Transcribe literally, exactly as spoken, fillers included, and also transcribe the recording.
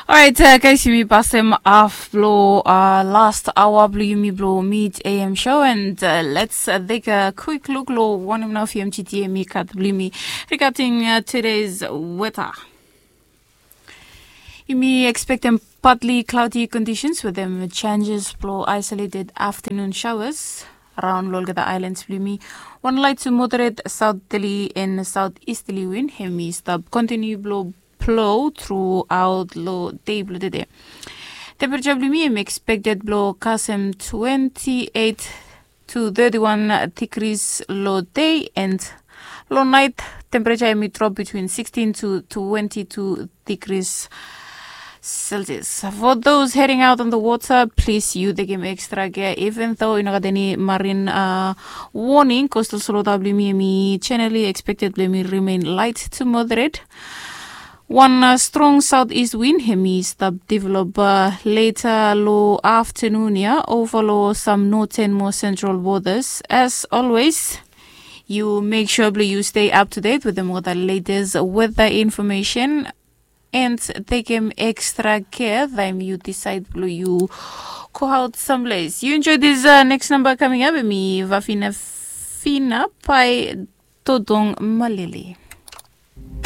Orait, guys, yumi pasem haf blong last aoa blong yumi blong mid am show, and let's take a quick look long wanem nao fmgt yumi gat blong yumi regarding today's weather. Yumi expectem partly cloudy conditions with them changes blong isolated afternoon showers around long olgeta islands blong yumi. Wan light to moderate southerly and southeasterly wind hemi stap continue blong blow throughout long day blong today. Temperature blong yumi em expected blong kasem twenty-eight to thirty-one degrees long day, and long night temperature em drop between sixteen to twenty-two degrees Celsius. For those heading out on the water, please you tekem extra care, even though you know got any marine uh, warning. Coastal solo blong yumi, generally expected blong yumi remain light to moderate. Wan strong southeast wind hemi stap develop later long afternoon ia over long some northern mo central waters. As always, you make sure blong you stay up to date with them all the latest weather information and tekem extra care taem you decide blong you go out someplace. You enjoy this uh, next number coming up, hemi Vafina Fina by Todong Malili.